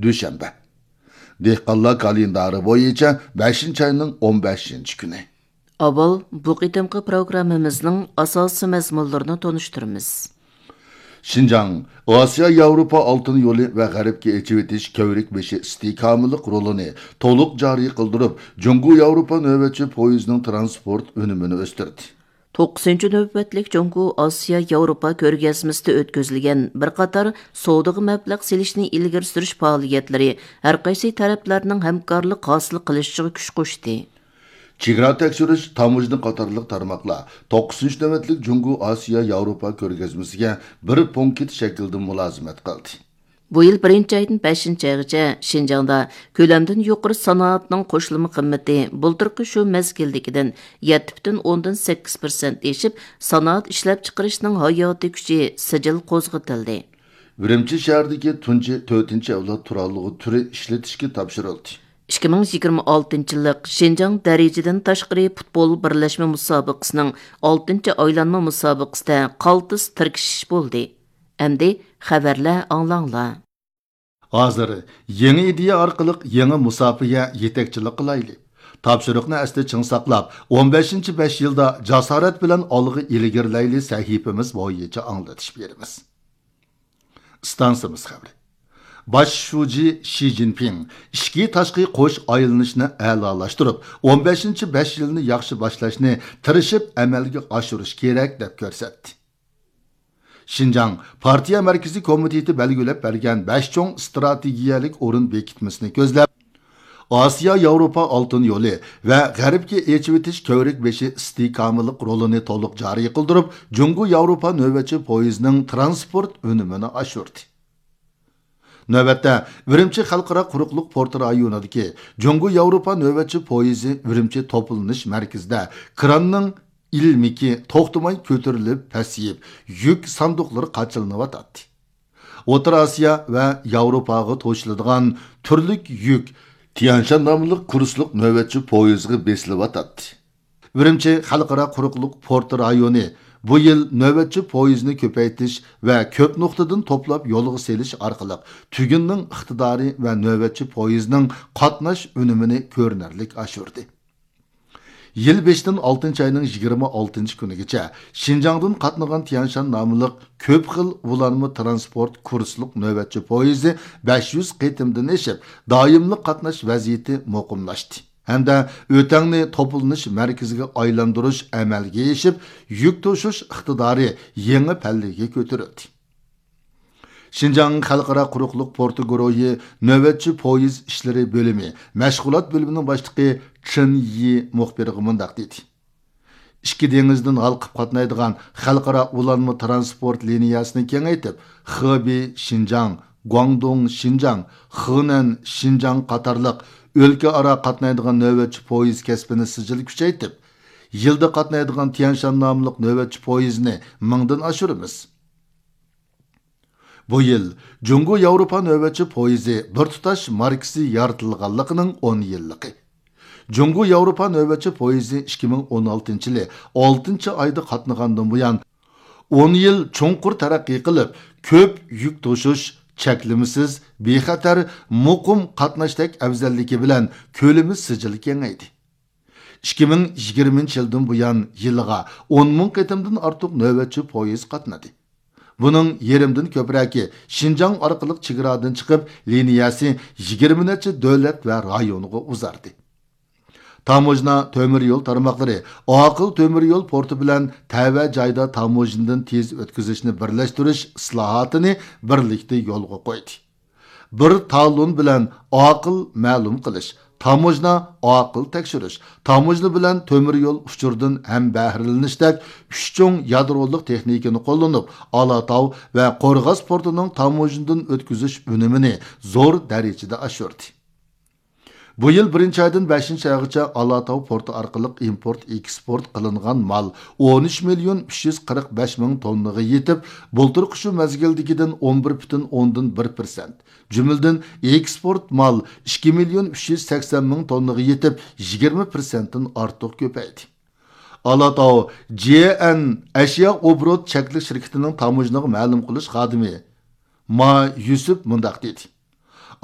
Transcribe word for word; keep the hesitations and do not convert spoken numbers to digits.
دۈشەنبە. دېھقانلار كالېندارى بويىچە بەشىنچى ئاينىڭ ئون بەشىنچى كۈنى. ئاۋۋال بۇ قېتىمقى پروگراممىمىزنىڭ ئاساسىي مەزمۇنلىرىنى تونۇشتۇرىمىز. شىنجاڭ ئاسىيا ياۋروپا ئالتۇن يولى ۋە غەربكە ئېچىۋېتىش كۆۋرۈك بېشى ئىستىھكاملىق رولىنى تولۇق جارى قىلدۇرۇپ، جۇڭگو ياۋروپا نۆۋەتچى پويىزىنىڭ تىرانسپورت ئۈنۈمىنى ئۆستۈردى. توققۇزىنچى نۆۋەتلىك جۇڭگو ئاسىيا ياۋروپا كۆرگەزمىسىدە ئۆتكۈزۈلگەن بىر قاتار سودىغا مەبلەغ سېلىشنى ئىلگىرى سۈرۈش پائالىيەتلىرى ھەرقايسى تەرەپلەرنىڭ ھەمكارلىق ھاسىل قىلىشىغا كۈچ قوشتى. چېگرا تەكشۈرۈش، تاموژنا قاتارلىق تارماقلار توققۇزىنچى نۆۋەتلىك جۇڭگو ئاسىيا ياۋروپا كۆرگەزمىسىگە بىر پونكىت شەكلىدە مۇلازىمەت قىلدى. بۇ يىل بىرىنچى ئايدىن بەشىنچى ئايغىچە شىنجاڭدا كۆلەمدىن يۇقىرى سانائەتنىڭ قوشۇلما قىممىتى بۇلتۇرقى شۇ مەزگىلدىكىدىن يەتتە پۈتۈن ئوندىن سەككىز پىرسەنت ئېشىپ، سانائەت ئىشلەپچىقىرىشنىڭ ھاياتىي كۈچى سىجىل قوزغىتىلدى. ئۈرۈمچى شەھىرىدىكى تۇنجى تۆتىنچى ئەۋلاد تۇرالغۇ تۈرى ئىشلىتىشكە تاپشۇرۇلدى. ئىككى مىڭ يىگىرمە ئالتىنچى يىللىق شىنجاڭ دەرىجىدىن تاشقىرى پۇتبول بىرلەشمە مۇسابىقىسىنىڭ ئالتىنچى ئايلانما مۇسابىقىسىدە قالتىس تىركىشىش بولدى. ئەمدى خەۋەرلەر ئاڭلاڭلار. ھازىر يېڭى ئىدىيە ئارقىلىق يېڭى مۇساپىگە يېتەكچىلىك قىلايلى. تاپشۇرۇقنى ئەستە چىڭ ساقلاپ، ئون بەشىنچى بەش يىلدا جاسارەت بىلەن ئالغا ئىلگىرىلەيلى سەھىپىمىز بويىچە ئاڭلىتىش بېرىمىز. ئىستانسىمىز خەۋىرى. باش شۇجى شى جىنپىڭ ئىچكى تاشقى قوش ئايلىنىشنى ئەلالاشتۇرۇپ، ئون بەشىنچى بەش يىلنى ياخشى باشلاشنى تىرىشىپ ئەمەلگە ئاشۇرۇش كېرەك، دەپ كۆرسەتتى. شىنجاڭ پارتىيە مەركىزىي كومىتېتى بەلگىلەپ بەرگەن بەش چوڭ ئىستراتېگىيەلىك ئورۇن بېكىتمىسىنى كۆزلەپ، ئاسىيا ياۋروپا ئالتۇن يولى ۋە غەربكە ئېچىۋېتىش كۆۋرۈك بېشى ئىستىھكاملىق رولىنى تولۇق جارى قىلدۇرۇپ، جۇڭگو ياۋروپا نۆۋەتچى پويىزىنىڭ تىرانسپورت ئۈنۈمىنى ئاشۇردى. نۆۋەتتە، ئۈرۈمچى خەلقئارا قۇرۇقلۇق پورت رايونىدىكى جۇڭگو ياۋروپا نۆۋەتچى پويىزى ئۈرۈمچى توپلىنىش مەركىزىدە كراننىڭ ئىلمىكى توختىماي كۆتۈرۈلۈپ پەسىيىپ، يۈك ساندۇقلىرى قاچىلىنىۋاتاتتى. ئوتتۇرا ئاسىيا ۋە ياۋروپاغا توشۇلىدىغان تۈرلۈك يۈك تيەنشان ناملىق كۇرسلۇق نۆۋەتچى پويىزغا بېسىلىۋاتاتتى. ئۈرۈمچى خەلقئارا قۇرۇقلۇق پورت رايونى بۇ يىل نۆۋەتچى پويىزنى كۆپەيتىش ۋە كۆپ نۇقتىدىن توپلاپ يولغا سېلىش ئارقىلىق تۈگۈننىڭ ئىقتىدارى ۋە نۆۋەتچى پويىزنىڭ قاتناش ئۈنۈمىنى كۆرۈنەرلىك ئاشۇردى. يىل بېشىدىن ئالتىنچى ئاينىڭ يىگىرمە ئالتىنچى كۈنىگىچە شىنجاڭدىن قاتنىغان تيەنشان ناملىق كۆپ خىل ئۇلانما تىرانسپورت كۇرسلۇق نۆۋەتچى پويىزى بەش يۈز قېتىمدىن ئېشىپ، دائىملىق قاتناش ۋەزىيىتى مۇقىملاشتى ھەمدە ئۆتەڭنى توپلىنىش مەركىزىگە ئايلاندۇرۇش ئەمەلگە ئېشىپ، يۈك توشۇش ئىقتىدارى يېڭى پەللىگە كۆتۈرۈلدى. شىنجاڭ خەلقئارا قۇرۇقلۇق پورتى گۇرۇھى نۆۋەتچى پويىز ئىشلىرى بۆلۈمى مەشغۇلات بۆلۈمىنىڭ باشلىقى چېن يى مۇخبىرغا مۇنداق دېدى: ئىككى دېڭىزدىن ھالقىپ قاتنايدىغان خەلقئارا ئۇلانما تىرانسپورت لىنىيەسىنى كېڭەيتىپ، خېبېي شىنجاڭ، گۇاڭدۇڭ شىنجاڭ، خېنەن شىنجاڭ قاتارلىق ئۆلكە ئارا قاتنايدىغان نۆۋەتچى پويىز كەسپىنى سىجىل كۈچەيتىپ، يىلدا قاتنايدىغان تيەنشان ناملىق نۆۋەتچى پويىزنى مىڭدىن ئاشۇرىمىز. بۇ يىل جۇڭگو ياۋروپا نۆۋەتچى پويىزى بىر تۇتاش ماركىسى يارىتىلغانلىقىنىڭ ئون يىللىقى. جۇڭگو ياۋروپا نۆۋەتچى پويىزى ئىككى مىڭ ئون ئالتىنچى يىلى ئالتىنچى ئايدا قاتنىغاندىن بۇيان، ئون يىل چوڭقۇر تەرەققىي قىلىپ، كۆپ يۈك توشۇش، چەكلىمىسىز، بىخەتەر، مۇقىم قاتناشتەك ئەۋزەللىكى بىلەن كۆلىمى سىجىل كېڭەيدى. ئىككى مىڭ يىگىرمىنچى يىلدىن بۇيان يىلىغا ئون مىڭ قېتىمدىن ئارتۇق نۆۋەتچى پويىز قاتنىدى. بۇنىڭ يېرىمدىن كۆپرەكى شىنجاڭ ئارقىلىق چېگرادىن چىقىپ، لىنىيەسى يىگىرمە نەچچە دۆلەت ۋە رايونغا ئۇزاردى. تاموژنا تۆمۈر يول تارماقلىرى ئاقىل تۆمۈر يول پورتى بىلەن تەۋە جايدا تاموژنىدىن تېز ئۆتكۈزۈشنى بىرلەشتۈرۈش ئىسلاھاتىنى بىرلىكتە يولغا قويدى. بىر تالون بىلەن ئاقىل مەلۇم قىلىش، تاموژنا ئاقىل تەكشۈرۈش، تاموژنا بىلەن تۆمۈر يول ئۇچۇرىدىن ھەمبەھرىلىنىشتەك ئۈچ چوڭ يادرولۇق تېخنىكىنى قوللىنىپ، ئالاتاۋ ۋە قورغاس پورتىنىڭ تاموژنىدىن ئۆتكۈزۈش ئۈنۈمىنى زور دەرىجىدە ئاشۇردى. بۇ يىل بىرىنچى ئايدىن بەشىنچى ئايغىچە ئالاتاۋ پورتى ئارقىلىق ئىمپورت، ئېكسپورت قىلىنغان مال ئون ئۈچ مىليون ئۈچ يۈز قىرىق بەش مىڭ توننىغا يېتىپ، بۇلتۇرقى شۇ مەزگىلدىكىدىن ئون بىر پۈتۈن ئوندىن بىر پىرسەنت، جۈملىدىن ئېكسپورت مال ئىككى مىليون ئۈچ يۈز سەكسەن مىڭ توننىغا يېتىپ، يىگىرمە پىرسەنتتىن ئارتۇق كۆپەيدى. ئالاتاۋ جي ئەن ئەشيا ئوبوروت چەكلىك شىركىتىنىڭ تاموژنىغا مەلۇم قىلىش خادىمى ما يۈسۈپ مۇنداق دېدى: